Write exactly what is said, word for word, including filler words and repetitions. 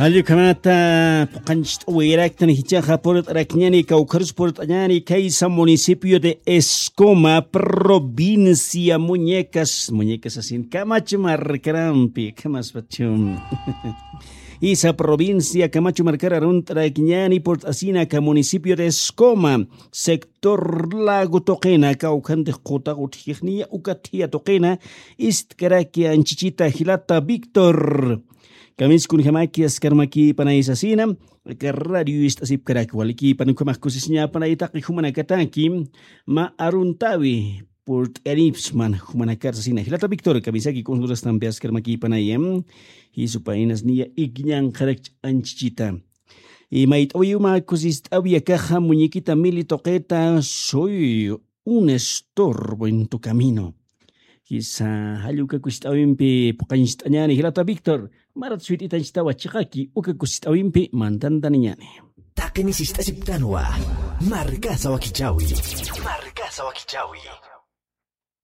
Jallukhamata puqanchist'awiraktan jichaxa purt'arakñani kawkharus purt'añani kaysa municipio de Escoma, provincia Muñecas, Muñecas asin Camacho markarampi, kamaspachum. Isa provincia Camacho markara runt'arakñani purt'asinaka municipio de Escoma, sector Lago tuqina, kawkhanti qutaqa utjixniya uka thia tuqina, istkaraki anchichita jilata Víctor. Kamis kunjamaki askarmaki panay sasina, aka radio ist'asipkaraki walikipan ukhamax kusisiñapanay taqi jumanakataki, mä aruntawi purt'ayanipsman jumanakar sasina. Jilata Víctor, kamisaki kunjurastampi askarmaki panaya, jisupaynas niya ikñanqarakch anchichita. Y mayt'awiyuma kusist'awi akaxa muñequita Mili tuqita, soy un estorbo en tu camino. Kisa jalluka kusist'awimpi puqanchist'añani jilata Víctor, marat suyt'itanchtawa chiqaki uka kusist'awimpi mantantaniñani. Taqini sist'asiptanwa. Markasa wakichawi. Markasa wakichawi.